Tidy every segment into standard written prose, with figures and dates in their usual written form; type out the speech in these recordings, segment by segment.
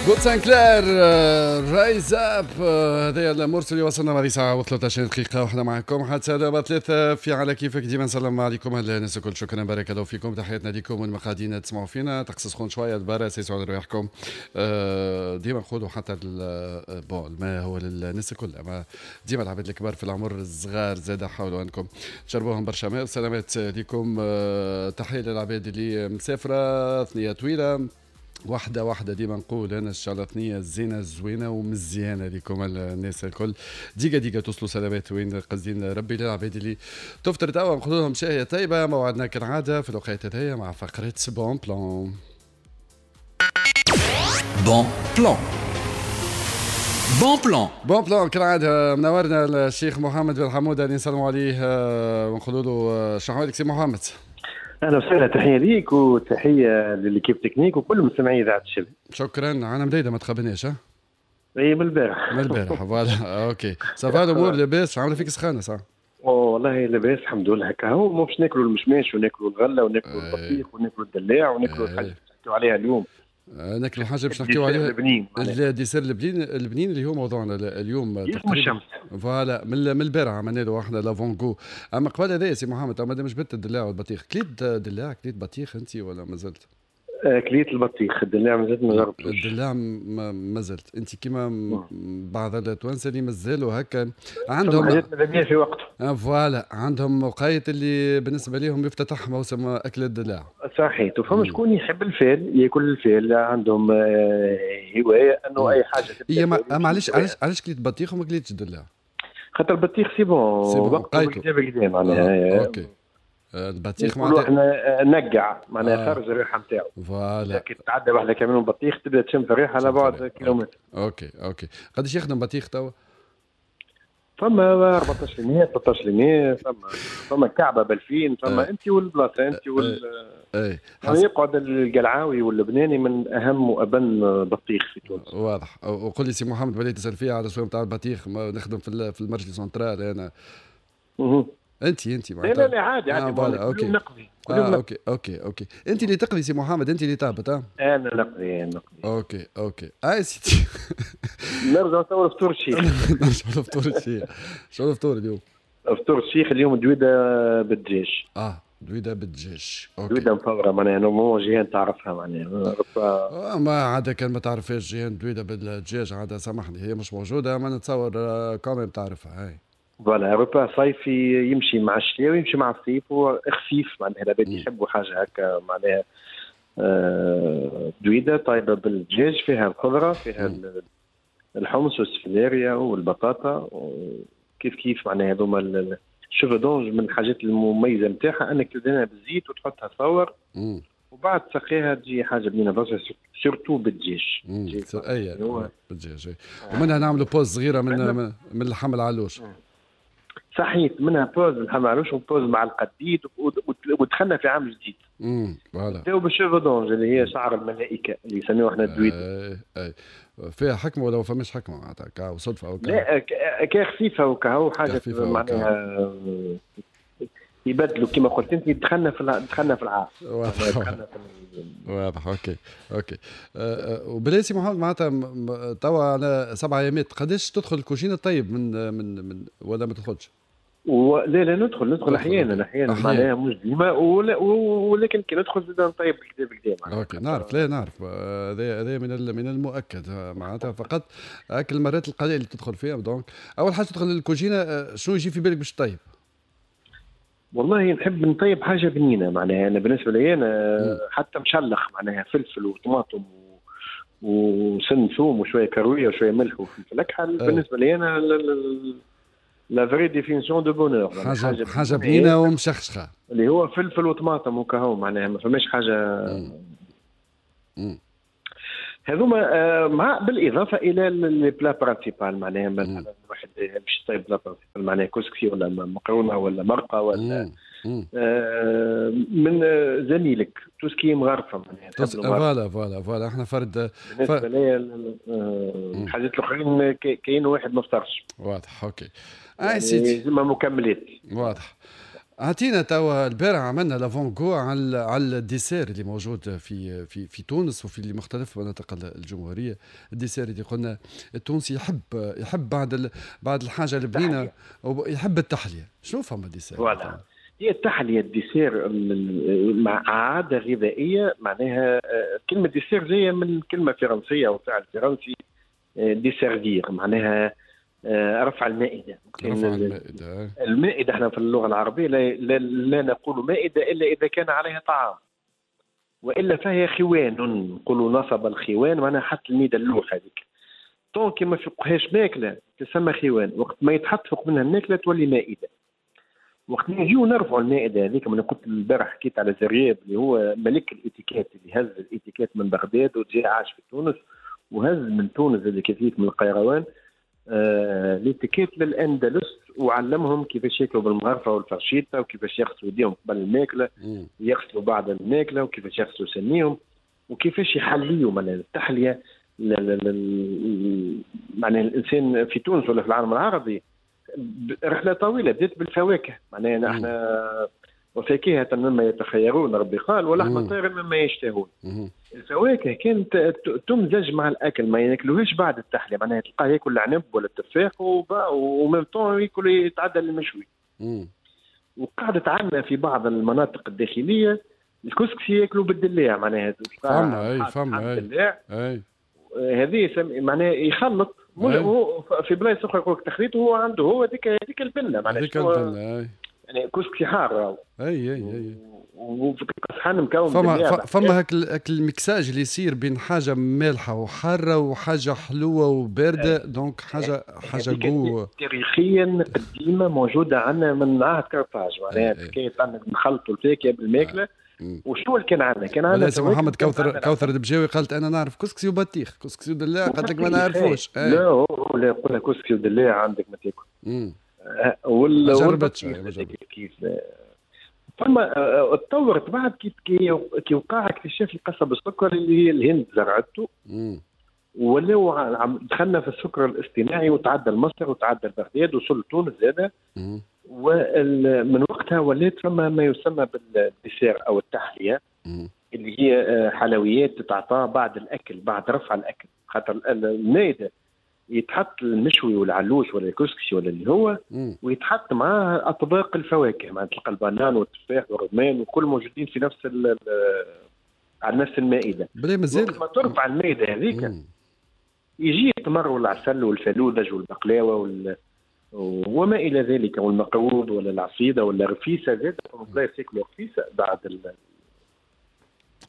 Bob Sinclar Rise Up، هذا المرسل اللي وصلنا بعد ساعة و13 دقيقة وحنا معكم حتى دابا 3 في على كيفك. ديما نسلم عليكم الناس الكل، شكرا بارك الله فيكم، تحياتنا لكم والمقادين تسمعوا فينا. طقس سخون شوية البارا، سيسوا على رواحكم. ديما نقولوا حتى bon الماء هو للناس الكل، اما ديما العباد الكبار في العمر، الصغار زاد حاولوا انكم تشربوهم برشا ماء. سلامات لكم، تحية للعباد اللي مسافرة ثنية طويلة، واحدة واحدة ديما نقول أنا إن شاء الله ثنية زينة زوينة ومزيانة لكم الناس الكل. ديقة ديقة توصلوا سلامات وين قصدين ربي. للعباد اللي تفطر توا نقول لهم شاهية طيبة. موعدنا كالعادة في الوقت هذايا مع فقرة bon plan. bon plan، bon plan، bon plan كالعادة منورنا الشيخ محمد بن حمودة اللي نسلموا عليه ونقولوا له شنو حوالك سي محمد؟ اهلا وسهلا، تحية ليك وتحية ل l'équipe technique وكل مستمعي اذاعة الشباب. شكرا. انا مديدة ما تخبنيش. ها اي من البارح. من البارح voilà. OK ça va الامور لاباس؟ عامله فيك سخانه صح؟ والله لاباس الحمد لله. هكا هو مو باش ناكلوا المشماش وناكلوا الغلة وناكلوا البطيخ وناكلوا الدلاع وناكلوا الحاجة اللي نحكيو عليها اليوم. ناكلوا حاجة باش نحكيو عليها البنين، ال dessert البنين، البنين اللي هو موضوعنا اليوم تقريبا الشمس. voilà من البارح عملنا له احنا l'avant-goût. اما قبل هذا سي محمد، ما جبت الدلاع والبطيخ، كليت دلاع كليت بطيخ انت ولا مازلت؟ كليت البطيخ، الدلاع مازلت ما جربتوش. الدلاع مازلت انت كيما بعض التوانسة اللي مازالوا هكا عندهم حاجات ماذا في وقته. voilà عندهم وقايت اللي بالنسبة لهم يفتتح موسم اكل الدلاع. صحيح. وفما شكون يحب الفيل ياكل الفيل، عندهم هواية انه اي حاجة. هي معليش علاش كليت بطيخ وما كليتش الدلاع؟ خاطر البطيخ c'est bon وقته بالكدا معناها. OK البطيخ معناتها احنا نقع معناها خرج الريحة نتاعو. voilà كي تتعدى واحدة كمان بطيخ تبدا تشم في الريحة على بعد كيلومتر. OK OK. قداش يخدم بطيخ توا؟ فما 14%، 13%، فما كعبه ب2000، فما انت والبلاصه انت وال اي يعني يقعد القلعاوي واللبناني من اهم وابن بطيخ في تونس. واضح. وقل لي سي محمد بديت تسال فيها على سوق نتاع البطيخ، نخدم في ال marché central انا. انت معناتها؟ لا لا عادي عادي. voilà OK نقضي. OK OK OK. انت اللي تقضي سي محمد، انت اللي تهبط؟ انا نقضي. OK OK. اي سيدي نرجع توا لفطور الشيخ. نرجع لفطور الشيخ. شنو الفطور اليوم؟ فطور الشيخ اليوم دويده بالدجاج. دويده بالدجاج. OK دويده مفوره معناها normalement جيهان تعرفها معناها. ما عاد كان ما تعرفهاش جيهان دويده بالدجاج عاد سامحني هي مش موجودة، ما نتصور quand même تعرفها. هاي voilà repas صيفي يمشي مع الشتاء ويمشي مع الصيف وخفيف معناها العباد يحبوا حاجة هكا معناها. دويده طيبة بالدجاج فيها الخضرة فيها الحمص والسفلاريا والبطاطا كيف كيف معناها. هذوما ال cheveux d'ange من الحاجات المميزة نتاعها انك تدهنها بالزيت وتحطها تفور وبعد تسقيها تجي حاجة بنينه برشا surtout بالدجاج. اي بالدجاج. ومنها نعملوا pause صغيرة من اللحم العلوش. صحيت منها pause اللحم العلوش و pause مع القديد ودخلنا في عام جديد. voilà بداو بال cheveux d'ange اللي هي شعر الملائكة اللي يسميوه احنا الدويد. اي فيها حكمه ولا ما فماش حكمه معناتها وصدفه او لا كخفيفه وكهو حاجة معناها يبدلوا كما قلت انت. دخلنا في العام. واضح. OK OK. وبالله سي محمد معناتها توا على 7 ايامات قداش تدخل الكوجينه طيب من من من ولا ما تدخلش؟ لا لا ندخل احيانا معناها مش ديما، ولكن كي ندخل زاد نطيب بالكدا بالكدا. OK نعرف، لا نعرف هذا من المؤكد معناتها. فقط اكل المرات القليلة اللي تدخل فيها. donc اول حاجة تدخل الكوجينه شنو يجي في بالك باش تطيب؟ والله نحب نطيب حاجة بنينه معناها. انا بالنسبة لي انا حتى مشلخ معناها فلفل وطماطم وسن ثوم وشوية كروية وشوية ملح وفلفل اكحل. بالنسبة لي انا la vraie définition de bonheur حاجة بنينه ومشخشخه اللي هو فلفل وطماطم وكهو معناها ما فماش حاجة. هذوما مع بالاضافة الى les plats principaux معناها مثلا واحد باش يطيب plat principal معناها كسكسي ولا مقرونة ولا مرقه ولا من زميلك tout ce qui مغرفه معناها. voilà voilà voilà احنا فرد بالنسبة لي الحاجات الاخرين كاين واحد ما فطرش. واضح. OK اي سيدي زعما مكملات. واضح. اعطينا توا، البارح عملنا l'avant-goût على ال dessert اللي موجود في في في تونس وفي مختلف مناطق الجمهوريه. ال dessert اللي قلنا التونسي يحب بعد الحاجة البنينه يحب التحليه. شنو فما dessert؟ voilà، هي التحلية ال dessert مع عادة غذائيه. معناها كلمة dessert جاية من كلمة فرنسية او فعل فرنسي desservir، معناها رفع المائده. رفع المائده. المائده، احنا في اللغة العربية لا, لا, لا نقول مائدة الا اذا كان عليها طعام، والا فهي خوان. نقولوا نصب الخوان، معناها حط الميده، اللوح هذيك. tant que ما فوقهاش ماكله تسمى خوان، وقت ما يتحط فوق منها الماكلة تولي مائده. وقت نجيو نرفعوا المائدة هذيك، من قلت البارح حكيت على زرياب اللي هو ملك الاتيكيت، اللي هز الاتيكيت من بغداد وجاء عاش في تونس، وهز من تونس اللي كيف من القيروان الاتيكيت للاندلس، وعلمهم كيفاش ياكلوا بالمغرفه والفرشيطه، وكيفاش يغسلوا يديهم قبل الماكله، يغسلوا بعد الماكله، وكيفاش يغسلوا سنيهم، وكيفاش يحليوا. معناها التحلية، معناها الانسان في تونس ولا في العالم العربي رحله طويلة بدات بالفواكه. معناها نحن وفاكهة مما يتخيرون ربي قال، ولحم طير مما يشتهون. الفواكه كانت تمزج مع الاكل، ما ياكلوهاش بعد التحليه. معناها تلقاه ياكل العنب ولا التفاح و même temps ياكل، يتعدى للمشوي. وقعدت عندنا في بعض المناطق الداخلية الكسكسي ياكلوا بالدلاع، معناها فما اي فما اي هذه معناها يخلط. هو في بلايص اخرى يقول لك تخليط، وهو عنده هو هذيك البنه. معناها هذيك البنه. يعني كسكسي حار. اي. وفي صحن مكون فما هاك ال mixage اللي يصير بين حاجة مالحة وحاره وحاجه حلوة وبارده، donc حاجه goût. تاريخيا قديمة موجودة عندنا من عهد كرطاج، معناها حكاية عندك نخلطوا الفاكهة بالماكله. وشنو اللي كان عندنا؟ كان عندنا محمد كوثر البجاوي قالت انا نعرف كسكسي وبطيخ، كسكسي ودلاع قالت لك ما نعرفوش. لا، هو لا يقول كسكسي ودلاع عندك ما تاكل. ولا جربتش. كيف فما تطورت بعد كي وقع اكتشاف القصب السكر اللي هي الهند زرعته، ولاو دخلنا في السكر الاصطناعي وتعدى لمصر وتعدى لبغداد وصل تونس زاده. ومن وقتها ولات فما ما يسمى بال dessert او التحليه، اللي هي حلويات تتعطى بعد الاكل، بعد رفع الاكل، خاطر المائدة يتحط المشوي والعلوش ولا الكسكسي ولا اللي هو، ويتحط معاه اطباق الفواكه، معناتها تلقى البنان والتفاح والرمان وكل موجودين في نفس على نفس المائده. مازال ما ترفع المائدة هذيك يجي التمر والعسل والفلوذج والبقلاوه وما الى ذلك، والمقروض ولا العصيده ولا رفيسه زاد. بلايص ياكلوا رفيسه بعد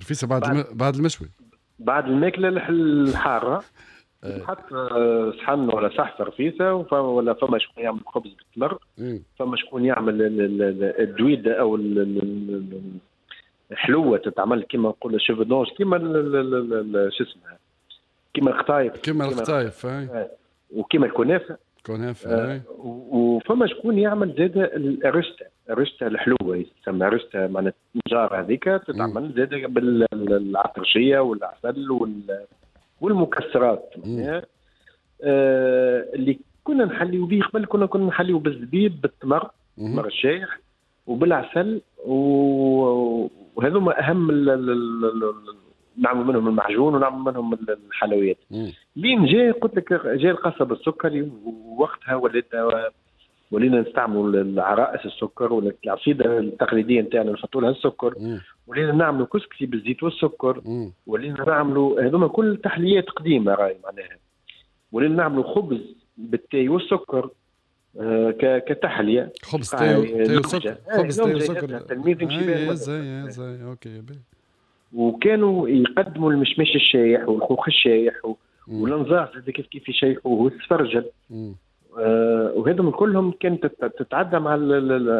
رفيسه بعد المشوي، بعد الماكلة الحارة. تحط صحن ولا صحفه رفيسه، ولا فما شكون يعمل خبز بالتمر، فما شكون يعمل الدويده او الحلوة تتعمل كيما نقول cheveux d'ange، كيما شو اسمها، كيما القطايف. كيما القطايف. وكيما الكنافه. كنافه. وفما شكون يعمل زاد الرشته، الرشته الحلوة يسمى رشته، معناتها النجاره هذيك تتعمل زاد بالعطرشيه والعسل والمكسرات. اللي كنا نحليو به قبل كنا نحليو بالزبيب، بالتمر، التمر الشايح، وبالعسل، وهذوما اهم نعمل منهم المعجون ونعمل منهم الحلويات. لين جاء قلت لك جاء القصب السكري، ووقتها ولينا نستعملوا العرائس السكر ولا العصيده التقليدية نتاعنا نحطوا لها السكر، ولينا نعملوا كسكسي بالزيت والسكر، ولينا نعملوا هذوما كل تحليات قديمة راي معناها، ولينا نعملوا خبز بالتاي والسكر كتحليه. خبز تاي وسكر، خبز تاي وسكر. التلميذ يمشي بها. زي OK. وكانوا يقدموا المشماش الشايح والخوخ الشايح والانزاص كيف كيف يشيحوه والسفرجل. وهذم كلهم كانت تتعدى مع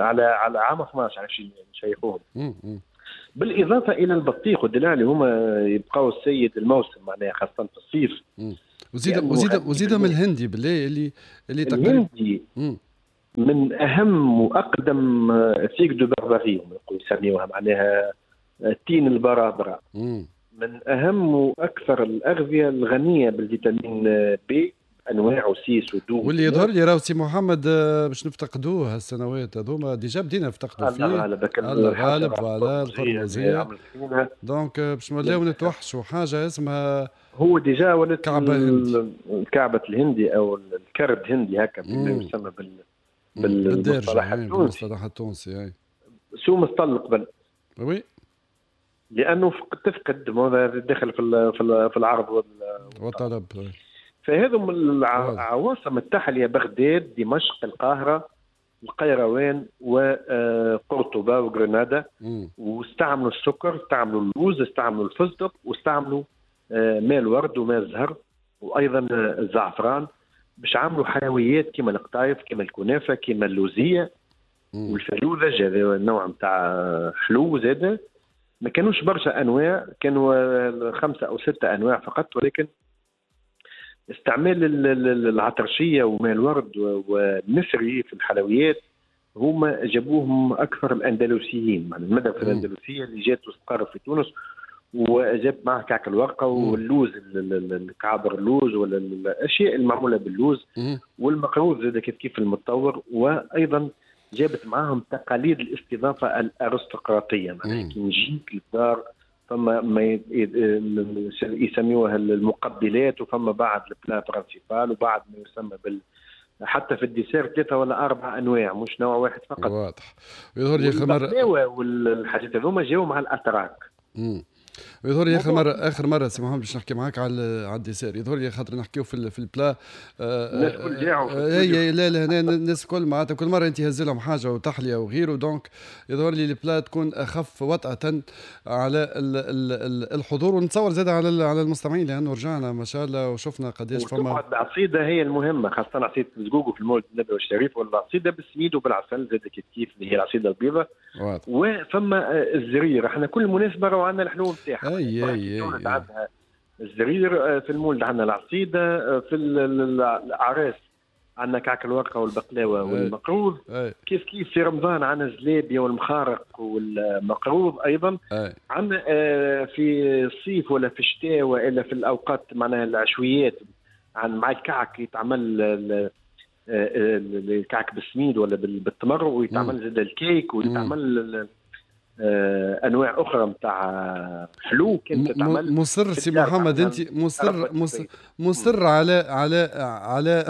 على عام 12 علاش نشيحوهم. بالاضافة الى البطيخ والدلاع اللي هما يبقاو السيد الموسم، معناها خاصة في الصيف. وزيد من الهندي بالله اللي تقريبا الهندي من اهم واقدم figue de Barbarie يسميوها، معناها تين البرابره. من اهم واكثر الاغذية الغنية بالفيتامين بي انواع وسيس ودوم. واللي يظهر لي راهو سي محمد باش نفتقدوه هالسنوات هذوما، déjà بدينا نفتقدوا فيه. الله غالب voilà القرمزيه، donc باش نوليو نتوحشوا حاجة اسمها هو déjà ولات كعبه هندي، كعبه الهندي او الكرد هندي هكا بما يسمى بالمصطلح التونسي. بالمصطلح التونسي. سوم اسطل قبل. oui لانه تفقد داخل في العرض والطلب. فهذم العواصم التحلية: بغداد، دمشق، القاهرة، القيروان، وقرطبه وغرناطه. واستعملوا السكر، استعملوا اللوز، استعملوا الفستق، واستعملوا ماء الورد وماء الزهر وايضا الزعفران باش عملوا حلويات كما القطايف، كما الكنافه، كما اللوزيه والفلوذج، هذا النوع نتاع حلو زاده. ما كانوش برشا انواع، كانوا 5 أو 6 انواع فقط، ولكن استعمال العطرشيه وماء الورد والنسري في الحلويات هما جابوهم اكثر الاندلسيين، يعني المدرسة الاندلسيه اللي جات واستقرت في تونس وجاب معها كعك الورقة واللوز، الكعبر اللوز ولا الاشياء المعموله باللوز، والمقروض زاد كيف كيف المتطور. وايضا جابت معاهم تقاليد الاستضافة الارستقراطيه، معناها كي نجيك للدار فما ما يسميوها المقبلات، وفما بعد ال plat principal، وبعد ما يسمى حتى في ال dessert 3 ولا 4 انواع، مش نوع واحد فقط. واضح. ويظهر لي الخمر والحاجات هذوما جاوا مع الاتراك. ويظهر لي اخر مرة سي محمد باش نحكي معاك على ال dessert، يظهر لي خاطر نحكيو في ال plat الناس الكل جاعوا. اي لا لا، هنا الناس الكل معناتها كل مرة انت هز لهم حاجة وتحليه وغيره، donc يظهر لي ال plat تكون اخف وطأة على الحضور، ونتصور زاد على المستمعين، لانه رجعنا ما شاء الله وشفنا قداش فما. العصيده هي المهمة، خاصة عصيده الزقوق في المولد النبوي الشريف، ولا العصيده بالسميد وبالعسل زاد كيف كيف اللي هي العصيده البيضاء. وفما الزرير، احنا كل مناسبة راهو عندنا الحلو نتاعها. اي اي عندها الزرير، في المولد عندنا العصيده، في الاعراس عندنا كعك الورقة والبقلاوه والمقروض. كيف كيف في رمضان عندنا الزلابيه والمخارق والمقروض ايضا. عندنا في الصيف ولا في الشتاء والا في الاوقات معناها العشويات، عن مع الكعك يتعمل الكعك بالسميد ولا بالتمر، ويتعمل زاد الكيك، ويتعمل انواع اخرى نتاع حلو كانت تتعمل. مصر سي محمد، انت مصر مصر, مصر على على على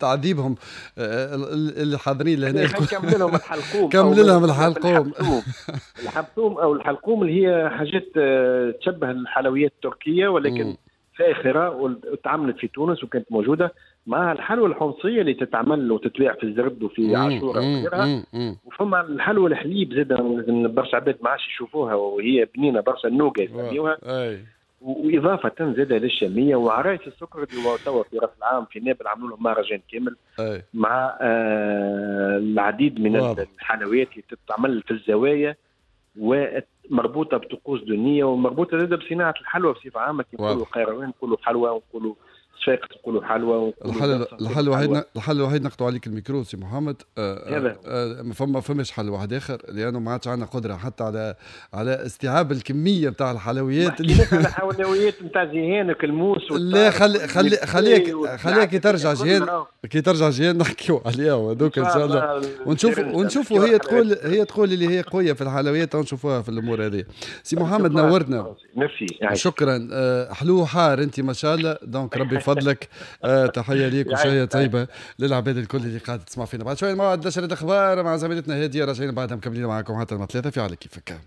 تعذيبهم اللي حاضرين لهنا. كمل لهم الحلقوم، كمل لهم الحلقوم. الحلقوم او الحلقوم اللي هي حاجات تشبه الحلويات التركية ولكن فاخره، وتعملت في تونس وكانت موجودة مع الحلوى الحمصية اللي تتعمل وتتباع في الزرد وفي عاشوره وغيرها. وفما الحلوى الحليب زاد برشا عباد ما عادش يشوفوها وهي بنينه برشا، النوقه يسميوها. واضافه زاد للشاميه وعرايس السكر اللي توا في راس العام في نابل عملوا لهم مهرجان كامل مع العديد من الحلويات اللي تتعمل في الزوايا ومربوطه بطقوس دنيه ومربوطه زاد بصناعة الحلوى بصفة عامة. كي نقولوا قيروان نقولوا حلوى، ونقولوا صفاقس نقولوا حلوى. الحل الوحيد نقطعوا عليك الميكرو سي محمد. ما فماش حل واحد اخر، لانه ما عادش عندنا قدره حتى على استيعاب الكمية نتاع الحلويات. اللي على الحلويات نتاع جيهانك الموس. لا خليك كي ترجع جيهان، كي ترجع جيهان نحكيو عليها وهذوك ان شاء الله، ونشوفوا هي تقول اللي هي قوية في الحلويات، ونشوفوها في الامور هذه. سي محمد نورتنا. ميرسي، شكرا. حلو حار انت ما شاء الله، donc ربي فضلك. تحية ليك وشهيه طيبة للعباد الكل اللي قاعدة تسمع فينا. بعد شوية موعد نشره الاخبار مع زميلتنا هادية، راجعين بعدها مكملين معاكم حتى 3 في على كيفك.